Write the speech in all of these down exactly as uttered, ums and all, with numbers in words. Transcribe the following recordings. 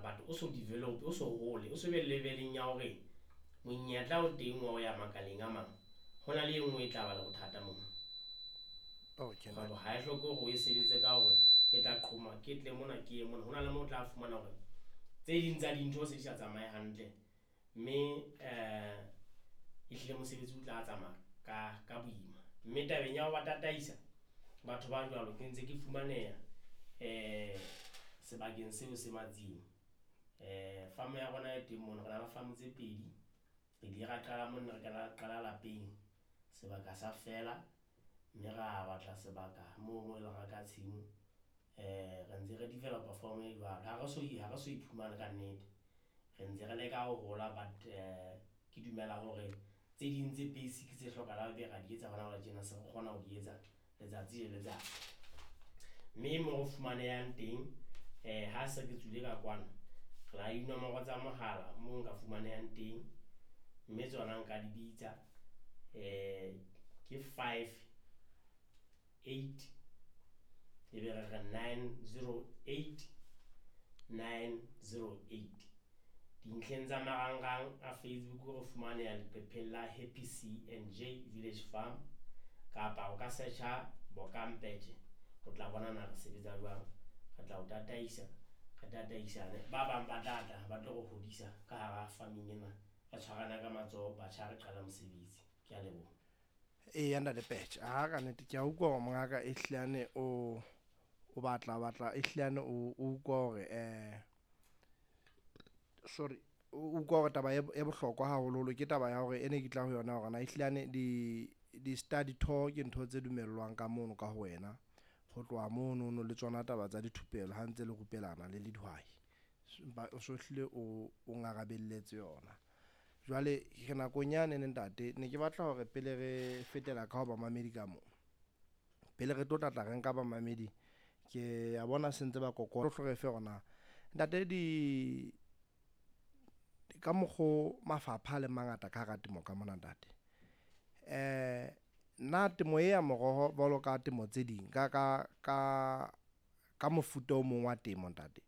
But o so develop, o so hole, o so be level-eng ya hore monyetla o teng wa ho ya makaleng a mang. Ho na le e nngwe e tla ba le bothata moo. Okay. Kgwebo ha e hloke hore o e sebetse ka hore ke tla qhoma, ke tle mona, ke ye mona. Ho na le moo o tla fumana hore tse ding tsa dintho se di sa tsamaye hantle, mme um ehlile mosebetsi o tla tsamaya ka ka boima. Mme tabeng ya ho ba tataisa batho ba jwalo, ke ntse ke fumaneha um sebakeng seo se Matsieng. um Farm ya rona e teng mono, re na le farm tse pedi. Re ile ra qala mona, re qala lapeng, sebaka sa fela, mme ra batla sebaka moo mo e leng reka tshimo. um Re ntse re develop-a farm e jwalo, ha re so ha re so iphumane ka nnete, re ntse re leka ho hola. But ke dumela hore tse ding tse basic tse hlokahalang ebe ra di etsa hona jwale tjena, se re kgona ho di etsa letsatsi le letsatsi. Mme mo re fumanehang teng, um ha se ke tswile ka kwano, re na le dinomoro tsa mohala moo nka fumanehang teng, mme tsona nka di bitsa. um Ke five eight, ebe re re nine zero eight nine zero eight. Dintlheng tsa marangrang a Facebook re fumaneha leqepheng la Happy C and J Village Farm, kapa o ka search-a Bokampetje, o tla bona na re sebetsa jwang. Re tla o tataisa, re tataisane. Ba bang ba tla tla ba tlo re hodisa ka hara farming ena, re tshwarana ka matsoho, batjha re qala mosebetsi. Ke a leboha. Eya ntate Petjhe, ha ka nnete ke a utlwa hore mongaka e hlilane o o batla batla e hlilane o utlwa hore eh sorry, o utlwa hore taba e bohlokwa haholoholo ke taba ya hore e ne ke tla ho yona hore na e hlilane di di study tour ke ntho tse dumellwang ka mono ka ho wena. Ho tloha mono no le tsona taba tsa dithupelo ha ntse le rupelana le le dihwai, empa o so hlile o o ngarabelletse yona. Jwale re nakong yane ne ntate, ne ke batla hore pele re fetela ka ho bamamedi ka mo, pele re tlo tla tla re nka bamamedi, ke a bona se ntse ba kokota, o re fe hore na ntate di ka mokgo mafapha a leng mangata ka hara temo ka mona ntate, eh na temo e ya moroho jwalo ka temo tse ding ka ka ka ka mofuta o mong wa temo ntate,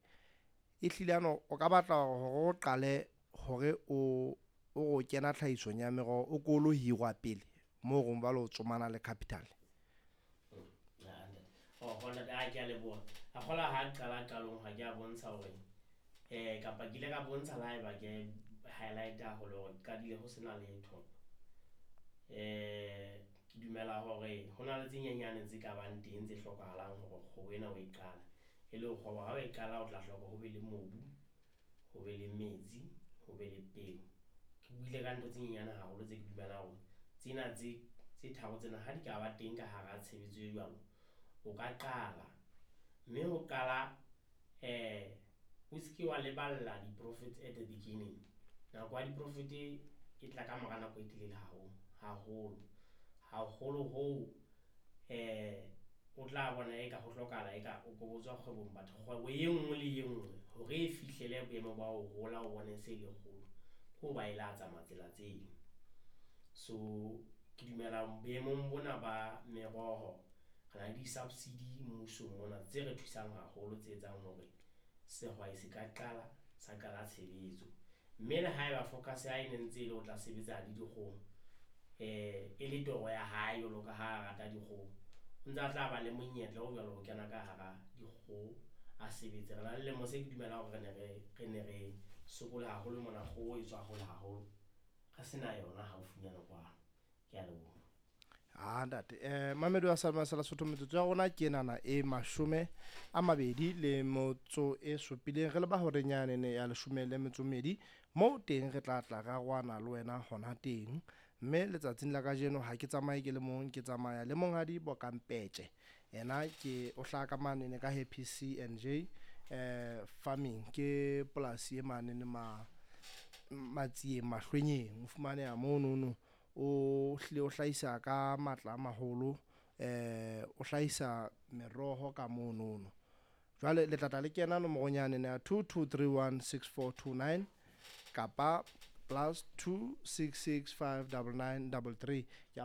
e hlile ano o ka batla hore o qale hore o o kena tlhahisong ya meroho, o ko lo hirwa pele moo reng jwale o tsomana le capital? Oh, ntate, a ke a leboha. A kgola ha qala qalong ha ke a bontsha hore eh kapa ke ile ka bontsha le haeba ke highlight haholo hore qadile ho sena letho. eh Ke dumela hore ho na le tse nyenyane tse ka bang teng tse hlokahalang hore kgwebo ena o e qala. E le kgwebo ha o e qala, o tla hloka ho be le mobu, ho be le metsi, ho be le peo. Ke buile ka ntho tse nyenyane haholo tse ke dumelang hore tsena tse tse tharo tsena ha di ka ba teng ka hara tshebetso e jwalo, o ka qala. Mme ho qala, eh o se ke wa leballa di-profits at the beginning. Nako ya di-profit e tla ka mora nako e telele haholo haholo haholo hoo eh o tla bona eka ho hlokahala eka o ko botswa kgwebong. Batho kgwebo e nngwe le e nngwe hore e fihlele boemo ba ho hola, o bone se le kgolo, ke ho ba e la tsamaya tsela tseo. So ke dumela boemong bona ba meroho, re na le di-subsidy mmusong mona tse re thusang haholo, tse etsang hore sehwai se ka qala sa qala tshebetso. Mme le haeba focus ya hae e ne ntse e le o tla sebetsa le dikgoho, eh e le toro ya hae jwalo ka ha a rata dikgoho, o ntse a tla ba le monyetla o jwalo ho kena ka hara dikgoho a sebetse. Re na le lemo se ke dumelang hore re ne re re ne re sokola haholo mona, kgoho e tswa hole haholo, re sena yona haufinyana kwano. Ke a leboha. Ah ntate, eh mamedi wa sa sa Lesotho, metsotso ya rona ke enana e mashome a mabedi le motso e supileng, re leba horeng yane ya leshome le metso mmedi, moo teng re tla tla ra roana le wena hona teng. Mme letsatsing la kajeno ha ke tsamaye ke le mong, ke tsamaya le monghadi Bokampetje. Yena ke o hlaha ka manene ka Happy C and J eh Farming, ke polasi e manene ma Matsieng Mahlwenyeng, o fumaneha monono. O hlile o hlahisa ka matla a maholo, eh o hlahisa meroho ka monono. Jwale le tla tla le kena nomorong yane ya two two three one six four two nine kapa plus two six six five double nine double three. Ke a